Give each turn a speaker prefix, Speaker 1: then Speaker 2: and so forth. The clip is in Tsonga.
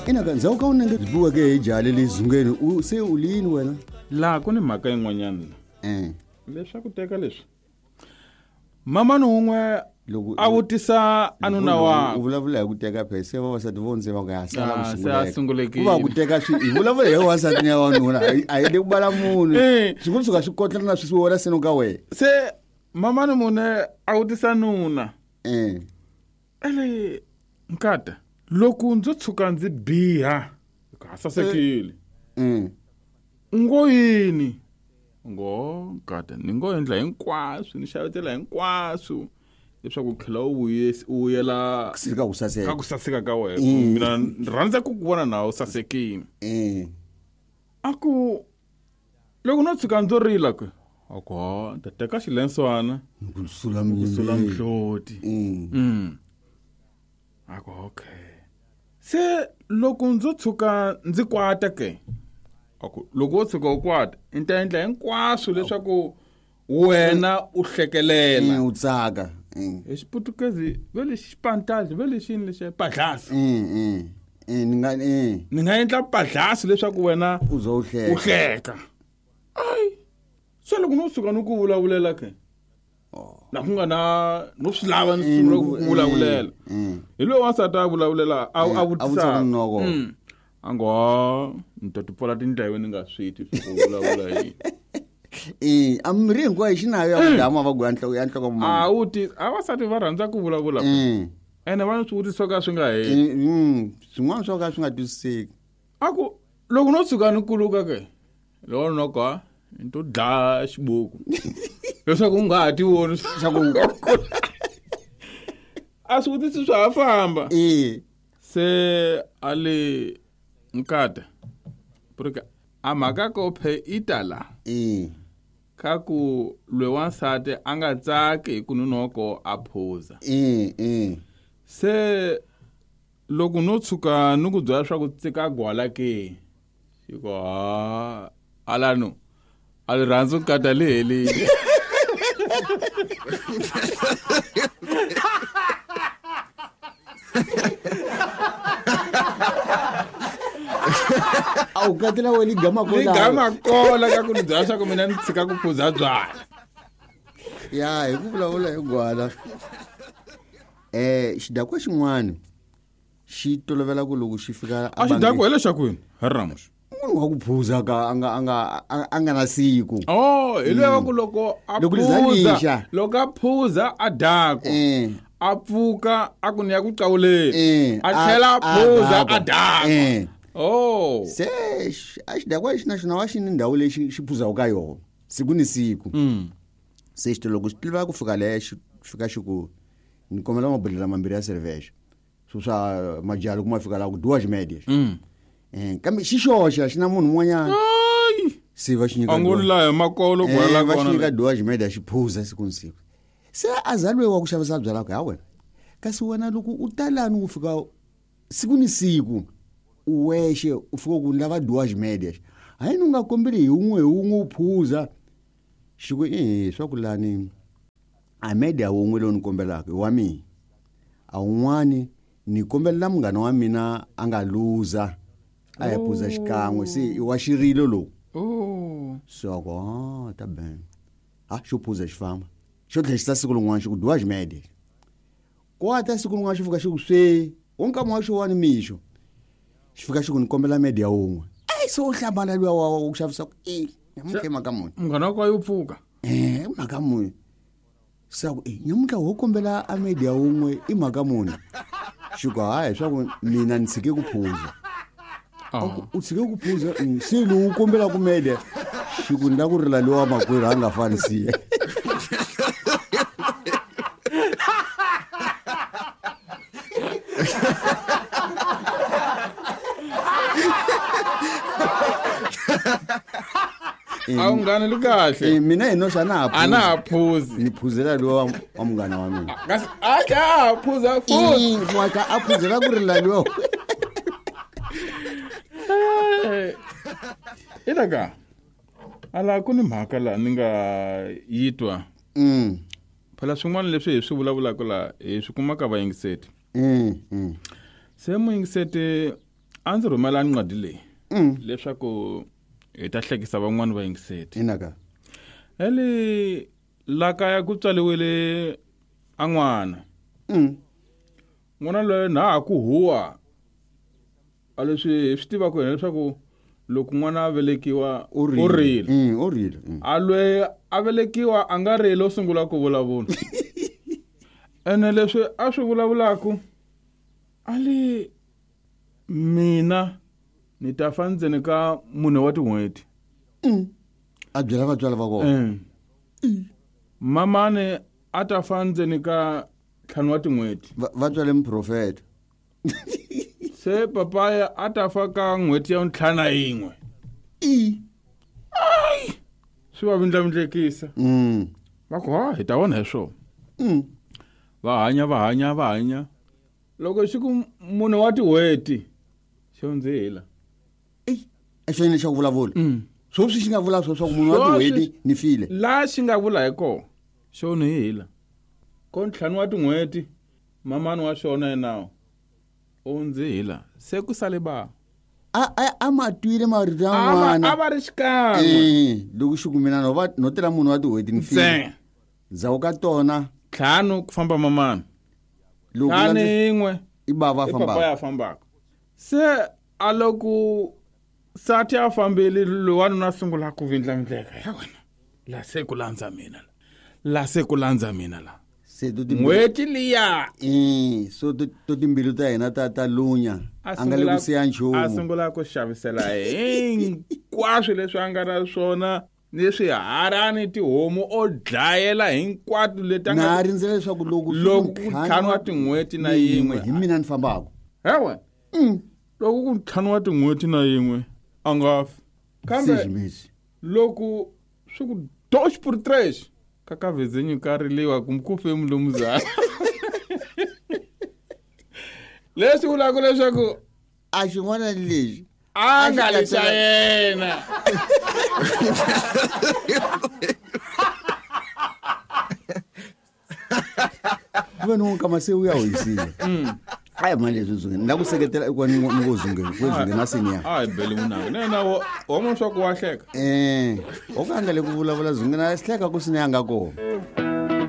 Speaker 1: Ina ka ndzhaku ka unenge byi biweke hi jali le zungeni u se u lini wena?
Speaker 2: Laha ku ni mhaka yin'wanyana la.
Speaker 1: Eh.
Speaker 2: Leswaku teka leswi. Mamani wun'we
Speaker 1: Loko
Speaker 2: a vutisa a nuna
Speaker 1: u
Speaker 2: wakwe.
Speaker 1: vulavula hi ku teka phela se vavasati vo ndze va ku ya sala
Speaker 2: Ah,
Speaker 1: ku
Speaker 2: se a sungulekile.
Speaker 1: Ku va ku teka swi hi vulavula hi wansati ni ya wanuna a hi le ku bala munhu.
Speaker 2: Eh.
Speaker 1: Swi ku suka swi kotlela na swi wela seno ka wena.
Speaker 2: Se mamani mune a vutisa nuna.
Speaker 1: Eh.
Speaker 2: Ele nkata loko ndzo tshuka ndzi biha ha sasekile. U ngo yini? Ngo nkata ni ngo endla hinkwaswo ni xavetela hinkwaswo leswaku u tlhela u u vuyela
Speaker 1: Ka ku saseka.
Speaker 2: Ka ku saseka ka wena. Mina ni rhandza ku ku vona na u sasekile. A ku loko no tshuka ndzo rila ku a ku ha ni ta teka xilenswana
Speaker 1: ku sula
Speaker 2: ku sula mihloti. A ku okay. Se loko ndzo tshuka ndzi kwata ke a ku loko wo tshuka u kwata ni ta endla hinkwaswo leswaku wena u hlekelela.
Speaker 1: U tsaka.
Speaker 2: Hi xiputukezi ve lexi xipantazi ve lexini lexi padlasi.
Speaker 1: Ni nga
Speaker 2: Ni nga endla padlasi leswaku wena
Speaker 1: u zo u hleka.
Speaker 2: U hleka. Ai. Se loko no tshuka no ku vulavulela ke. La ku nga na no swi lava ni sungula ku vulavulela. Hi loyi wansati a vulavulela a
Speaker 1: A
Speaker 2: vutisa.
Speaker 1: vutisa nunoko.
Speaker 2: A ngo ha, ni ta ti pfala tindleve ni nga swi twi swa ku vulavula yini.
Speaker 1: Eh, a mirhi hinkwayo xi nayo ya ku dlaya mavabyi ya nhloko ya nhloko
Speaker 2: A wu ti a vasati va rhandza ku vulavula. Ene va ni swivutiso swo ka swi nga heli.
Speaker 1: Swin'wana swo ka swi nga twisiseki.
Speaker 2: A ku loko no tshuka ni kuluka ke loko noko ha ni to dlaya xibuku leswaku u nga ha ti voni
Speaker 1: swa ku
Speaker 2: a swivutiso swa ha famba. Se a le nkata porque a mhaka ko phe i ta la. Ka ku lwe wansati a nga tsaki hi ku nunoko a phuza. Se loko no tshuka ni ku byela swa ku tsika gwala ke xi ku ha alano a li rhandzi nkata li helile.
Speaker 1: A wu katela we ligama kola.
Speaker 2: Ligama kola ka ku ni byela swa ku mina ni tshika ku phuza byala.
Speaker 1: Ya hi ku vulavula hi gwala. Xidakwa xin'wana xi tolovela ku loko xi fika
Speaker 2: A xidakwa hi lexaku yini? Hi Ramos.
Speaker 1: Munhu wa ku phuza ka a nga na siku.
Speaker 2: Oh, hi loyi wa ku loko a
Speaker 1: Loko li za
Speaker 2: phuza,
Speaker 1: lixa.
Speaker 2: loko a phuza a dakwa. A pfuka a ku ni ya ku qawuleni. A tlhela a phuza a dakwa. Oh.
Speaker 1: Se a xidakwa lexi na xona wa xi ni ndhawu leyi xi phuzaka ka yona siku ni siku. Se xi loko xi tiva ku fika leya xi fika xi ku ni kombela mabodhlela mambirhi ya cerveja. Swo swa majalo kuma fika la ku duas médias. Kambe xi xoxa xi na munhu un'wanyana.
Speaker 2: Ai.
Speaker 1: Se va xi nyika
Speaker 2: A ngo
Speaker 1: duas.
Speaker 2: la hi makolo kwala
Speaker 1: Va xi
Speaker 2: kona
Speaker 1: nyika
Speaker 2: le.
Speaker 1: duas médias xi phuza siku ni siku. Se a za loyi wa ku xavisa byalwa ku ha wena. Kasi wena loko u ta lani u fika siku ni siku u wexe u fika ku ni lava duas médias. Hayi ni u nga kombeli hi wun'we hi wun'we u phuza. Xi ku swa ku lani a media wun'we lowu ni kombelaka i wa mina. A wun'wani ni kombelela munghana wa mina a nga luza a ya phuza xikan'we se i wa xirilo lowu. Se wa ku ha ta ben. Ha xo phuza xi famba. Xo tlhela xi ta siku rin'wana xi ku duas médias. Kwata siku rin'wana xi fika xi ku swe wo nkama wa xo wani mixo. Xi fika xi ku ni kombela media wun'we. Ai se u hlamala luya wa ku xavisa ku nyamuntlha i mhaka muni.
Speaker 2: Munghana wa yo pfuka.
Speaker 1: Mhaka muni. Se ku nyamuntlha wo kombela a media wun'we i mhaka muni. Xi ku hayi swa ku mina ni tshike ku phuza. U tshike ku phuza se lowu kombela ku media. Xi ku ni la ku rila lowa makwerhu a nga fani siya.
Speaker 2: A wu nghana li kahle.
Speaker 1: Mina hi noxa a na ha
Speaker 2: A na ha phuzi.
Speaker 1: Ni phuzela lowa wa munghana wa mina.
Speaker 2: Kasi a tlha a phuza futhi.
Speaker 1: Wa tlha a phuzela ku rila lowa.
Speaker 2: Ina ka. Ala ku ni mhaka la ni nga yi twa. Phela swin'wana leswi hi swi vulavulaka la hi swi kumaka vayingiseti. Se muyingiseti A ndzi rhumela ncwadi leyi leswaku hi ta hlekisa van'wani vayingiseti.
Speaker 1: Inaka.
Speaker 2: Eli la kaya ku tswaliwile a n'wana. N'wana loyi na ha ku huwa a leswi hi swi tivaka hina leswaku loko n'wana a velekiwa
Speaker 1: U rile.
Speaker 2: u rile.
Speaker 1: U rile.
Speaker 2: A loyi a velekiwa a nga rili, o sungula ku vulavula. Ene leswi a swi vulavulaka a li mina ni ta fa ndzeni ka 4 wa tin'hweti.
Speaker 1: A byela vatswari va kona.
Speaker 2: Mamani a ta fa ndzeni ka 5 wa tin'hweti.
Speaker 1: Va tswale muprofeta.
Speaker 2: Se papaya a ta fa ka n'hweti ya 51. Ai! Swi va vindlavindlekisa. Va ku, ha, hi ta vona hi swona. Va hanya, va hanya, va hanya. Loko xi ku 4 wa tin'hweti, xo ndzi hela.
Speaker 1: Ey, a xo yini xa ku vulavula? Swoswi xi nga vula swo swa ku 4 wa
Speaker 2: Swoswi
Speaker 1: tin'hweti ni file.
Speaker 2: La xi nga vula hi kona, xo ni hela. Ko 5 wa tin'hweti, mamani wa xona yena u ndzi hela. Se ku sale ba.
Speaker 1: A ma twile marito ya n'wana.
Speaker 2: A va ri xikan'we.
Speaker 1: Loko xi ku mina no va no tela 4 wa tin'hweti ni file.
Speaker 2: Ntsena.
Speaker 1: Ndzhaku ka tona
Speaker 2: 5 ku famba mamani.
Speaker 1: Loko
Speaker 2: Ntlhanu
Speaker 1: landze-
Speaker 2: yin'we.
Speaker 1: I bava
Speaker 2: I
Speaker 1: fambaka.
Speaker 2: papa ya fambaka. Se a loko sati a fambile, loyi wanuna a sungula ku vindlavindleka. Ya wena, la se ku landza mina la. La se ku landza mina la.
Speaker 1: Se to timbilu-
Speaker 2: N'hweti liya.
Speaker 1: So to timbilu ta hina ta lunya.
Speaker 2: A
Speaker 1: A nga le ku
Speaker 2: sungula
Speaker 1: siya nchumu.
Speaker 2: A sungula ku xavisela hinkwaswo leswi a nga na swona, ni swiharani, tihomu, o dlayela hinkwato leti a nga
Speaker 1: Na rindzela leswaku loko swi
Speaker 2: loko
Speaker 1: ku
Speaker 2: ku
Speaker 1: ntlhanu
Speaker 2: 5 wa tin'hweti na yin'we.
Speaker 1: hi mina ni fambaka.
Speaker 2: Hewe. Loko ku 5 wa tin'hweti na yin'we a nga fi. Kambe
Speaker 1: Seis meses.
Speaker 2: loko swi ku dois por três, ka ka vizinho ka riliwa kumbe ku fe mulumuzana. Leswi vulaka leswaku
Speaker 1: a xin'wana lexi
Speaker 2: a nga
Speaker 1: A xi
Speaker 2: li xa
Speaker 1: katsela-
Speaker 2: yena.
Speaker 1: Ku ve ni n'wi kama se u ya hoyisile. Ai mali leswi Zungeni. Ni la ku seketela eku ni ngo Zungeni, ku Zungeni a senior.
Speaker 2: Ai bele munanga. Ne na wo mona swa ku wa hleka.
Speaker 1: O ka nga le ku vulavula Zungeni a hleka ku senior nga kona.